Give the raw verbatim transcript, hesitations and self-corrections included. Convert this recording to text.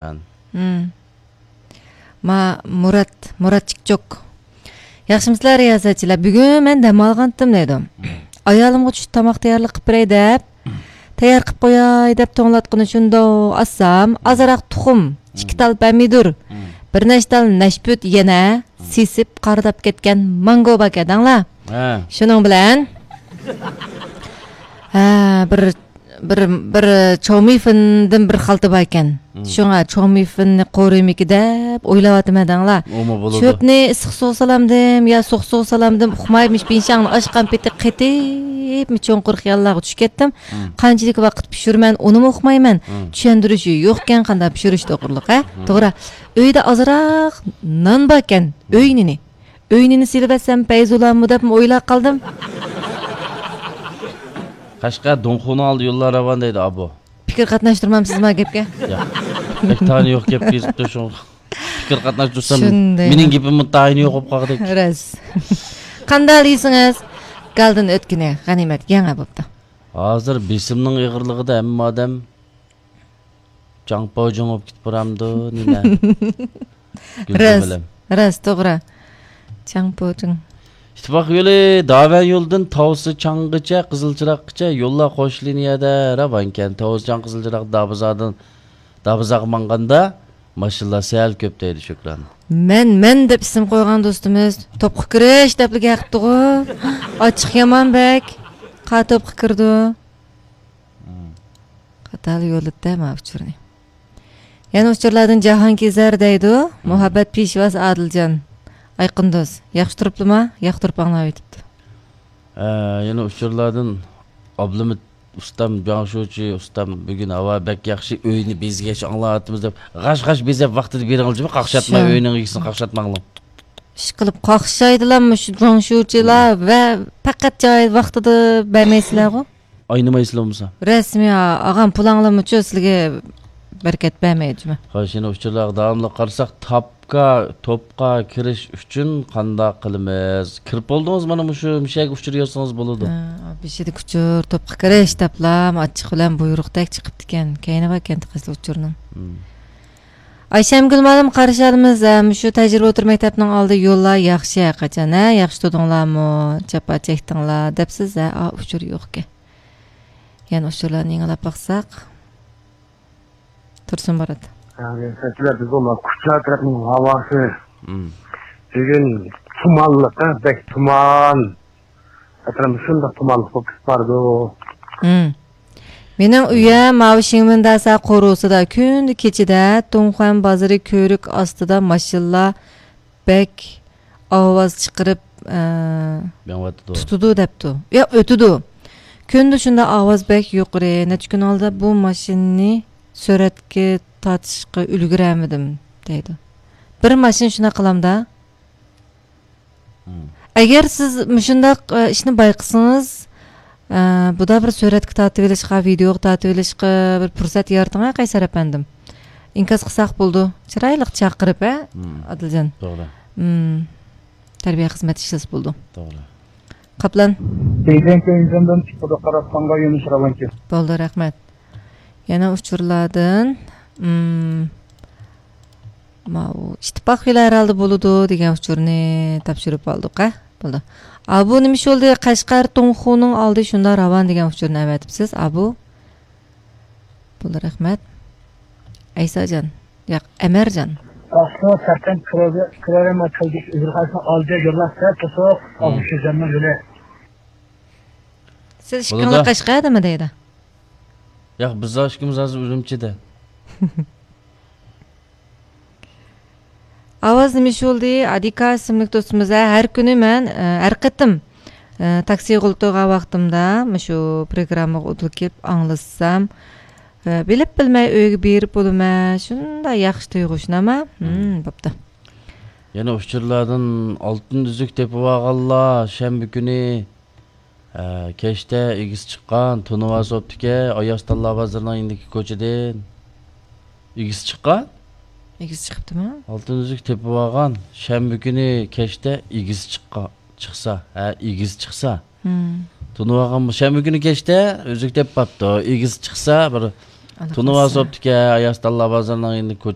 ھىم. ما، مۇرات، مۇرات چىكچوك. ياخشىمۇسىلەر رىياسەتچىلەر؟ بۈگۈن مەن دەم ئالغانتىم دەيدۇ. ئايالىمغا چۈشتە تاماق تەييارلىق قىلىپ بېرەي دەپ، تەييار قىلىپ قوياي دەپ توڭلاتقۇنى شۇنداق ئاسسام، ئازراق تۇخۇم، ئىككى تال پەمىدۇر، بىر نەچچە تال نەشپۈت يەنە سېسىپ قارىداپ كەتكەن مانگو باركەن دەڭلار. ھە. شۇنىڭ بىلەن، ھە، بىر، بىر، بىر چاۋمىفېندىن بىر خالتا باركەن. شۇڭا چاۋمىفېننى قورۇيمىكى دەپ ئويلاۋاتىمەن دەڭلار. ئۇمۇ بولىدۇ. چۆپنى ئىسسىق سۇغا سالامدىم يا سوغۇق سۇغا سالامدىم ئۇقماي، مۇشۇ بىنشاڭنى ئاچقان پېتى قېتىپمۇ چوڭقۇر خىياللارغا چۈشۈپ كەتتىم. قانچىلىك ۋاقىت پىشۇرىمەن، ئۇنىمۇ ئۇقمايمەن. چۈشەندۈرۈشى يوقكەن، قانداق پىشۇرۇش توغرىلىق، ھە؟ توغرا. ئۆيدە ئازراق نان باركەن، ئۆي نېنى. ئۆي نېنى سېلىۋەتسەم پەيزۇلامۇ دەپمۇ ئويلاپ قالدىم. قەشقەر دۇڭخۇنىڭ ئالدى يوللار راۋان دەيدۇ، ئابۇ. پىكىر قاتناشتۇرمامسىزما گەپكە؟ ياق. بەك تايىنى يوق گەپ كېزىپتۇ شۇ. پىكىر قاتناشتۇرسام، شۇنداق. مېنىڭ گېپىممۇ تايىنى يوق بولۇپ قالغۇدەك. راست. قانداق دېسىڭىز، گالدىن ئۆتكىنى غەنىيمەت يېڭى بوپتۇ. ھازىر بېسىمنىڭ ئېغىرلىقىدا ھەممە ئادەم جاڭپاۋجىڭ بولۇپ كېتىپ بارامدۇ، نېمە؟ گۈلجۈمىلەم. راست، راست، توغرا. جاڭپاۋجىڭ. ئىتتىپاق يولى داۋەن يولىدىن تاۋسى چاڭغىچە، قىزىل چىراغقىچە يوللار قوش لىنىيەدە راۋانكەن. تاۋسى چاڭ قىزىل چىراغ دابىزادىن، دابىزاغا ماڭغاندا ماشىنىلار سەل كۆپ دەيدۇ شۆكران. مەن، مەن دەپ ئىسىم قويغان دوستىمىز توپقا كىرىش دەپلا گەپ قىپتىغۇ. ئاچچىق يامان بەك. قا توپقا كىرىدۇ. قاتال يوللىدى ما ئۇچۇرنى. يەنە ئۇچۇرلاردىن جاھانكېزەر دەيدۇ. مۇھەببەت پېشۋاسى ئادىلجان. ئايقىن دوست. ياخشى تۇرۇپلىما؟ ياخشى تۇرۇپ ئاڭلاۋېتىپتۇ. ھە، يەنە ئۇچۇرلاردىن ئابلىمىت ئۇستام، جاڭشۇچى ئۇستام، بۈگۈن ھاۋا بەك ياخشى، ئۆينى بېزىگەچ ئاڭلاۋاتىمىز دەپ، غاش-غاش بېزەپ ۋاقتىدا بېرىڭلار، جىمى قاقشاتماي، شۇ. ئۆينىڭ ئىگىسىنى قاقشاتماڭلار. ئىشقىلىپ قاقشايدىلا مۇشۇ جاڭشۇچىلار ۋە پەقەت جاي ۋاقتىدا بەرمەيسىلەرغۇ. ئاينىمايسىلەر بولمىسا. رەسمىي ئا-، ئاغام پۇلاڭلىمىچۇ سىلىگە بەرىكەت بەرمەيدۇ جىمى. خوش، يەنە ئۇچۇرلارغا داۋاملىق قارىساق، تاپكا، توپقا كىرىش ئۈچۈن قانداق قىلىمىز؟ كىرىپ بولدىڭىز، مانا مۇشۇ مۇشەگە ئۇچۇر يازسىڭىز بولىدۇ. ھە، بېشىدىكى ئۇچۇر، توپقا كىرىش دەپلا ئاچچىق بىلەن بۇيرۇقتەك چىقىپتىكەن. كەينى باركەن تېخى ئۇچۇرنىڭ. ئايشەمگۈل مۇئەللىم، قارشى ئالىمىز، ھە، مۇشۇ تەجرىبە ئوتتۇرا مەكتەپنىڭ ئالدى يوللار ياخشى ھەرقاچان، ھە، ياخشى تۇردۇڭلارمۇ، جاپا چەكتىڭلار دەپسىز، ھە، ئا، ئۇچۇر يوقكەن. يەنە ئۇچۇرلارنى يېڭىلاپ باقساق. تۇرسۇن بارات. ھە، سەكىلەر بىز بولماس، كۇچا ئەتراپنىڭ ھاۋاسى. بۈگۈن تۇمانلىق، ھە، بەك تۇمان. ئەتراپىمىز شۇنداق تۇمانلىق بولۇپ كېتىپ بارىدۇ. مېنىڭ ئۆيۈم ماۋۇ شىڭمىنداسا قورۇسىدا كۈندە كېچىدە تۇڭخۇەن بازىرى كۆۋرۈك ئاستىدا ماشىنىلار بەك ئاۋاز چىقىرىپ، ئە، مېڭىۋاتىدۇ. تۇتىدۇ دەپتۇ. ياق، ئۆتىدۇ. كۈندە شۇنداق ئاۋاز بەك يۇقىرى. نەچچە كۈن ئالدىدا بۇ ماشىنىنى سۈرەتكە تارتىشقا ئۈلگۈرەلمىدىم، دەيدۇ. بىر ماشىنا شۇنداق قىلامدا. ئەگەر سىز مۇشۇنداق، ئە، ئىشنى بايقىسىڭىز، ئە، بۇدا بىر سۈرەتكە تارتىۋېلىشقا، ۋىدېئوغا تارتىۋېلىشقا بىر پۇرسەت يارىتىڭ، ھە، قەيسەر ئەپەندىم. ئىنكاس قىلساق بولىدۇ. چىرايلىق چاقىرىپ، ھە، ئادىلجان؟ توغرا. تەربىيە خىزمەت ئىشلىسا بولىدۇ. توغرا. قاپلان. دېگەن كۆيۈنگەندىن چىقىدۇ، قاراتقانغا يۆنىلىش راۋانكى. بولدى، رەھمەت. يەنە ئۇچۇرلاردىن، مم، ماۋۇ ئىتتىپاق يولى ھەرھالدا بولىدۇ دېگەن ئۇچۇرنى تاپشۇرۇپ ئالدۇق، ھە؟ بولدى. ئابۇ نېمە ئىش بولدى؟ قەشقەر توڭخۇنىڭ ئالدى شۇنداق راۋان دېگەن ئۇچۇرنى ئەۋەتىپسىز، ئابۇ. بولدى، رەھمەت. ئەيساجان. ياق، ئەمەرجان. ئاقسۇ، سەركەنت، كرېرېما، كىلدىش، ئۈزۈرخاسنىڭ ئالدى يوللار سەل توسۇق، ئابۇ شىرجاننىڭ يولى. سىز ئىككىڭلار قەشقەردىمۇ دەيدۇ؟ ياق، بىز ئىككىمىز ھازىر ئۈرۈمچىدە. ئاۋاز نېمە ئىش بولدى؟ ئادىكا ئىسىملىك دوستىمىز، ھە، ھەر كۈنى مەن، ئە، ھەر قېتىم، ئە، تاكسىغا ئولتۇرغان ۋاقتىمدا مۇشۇ پروگراممىغا ئولتۇرۇپ كېلىپ ئاڭلىسام، ئە، بىلىپ بىلمەي ئۆيگە بېرىپ بولىمەن، شۇنداق ياخشى تۇيغۇ، شۇنداقمۇ؟ ھىم، بوپتۇ. يەنە ئۇچۇرلاردىن ئالتۇن ئۈزۈك تېپىۋالغانلار شەنبە كۈنى ھە، كەچتە ئىگىسى چىققان، تونۇۋالسا بوپتىكەن، ئاياز تاللا بازىرىنىڭ يېنىدىكى كوچىدىن. ئىگىسى چىققان؟ ئىگىسى چىقىپتىمۇ؟ ئالتۇن ئۈزۈك تېپىۋالغان، شەنبە كۈنى كەچتە ئىگىسى چىققان، چىقسا، ھە، ئىگىسى چىقسا. تونۇۋالغان، شەنبە كۈنى كەچتە ئۈزۈك تېپىپ قاپتۇ. ئىگىسى چىقسا، بىر تونۇۋالسا بوپتىكەن، ياستانلار بازىرىنىڭ يېنىدىكى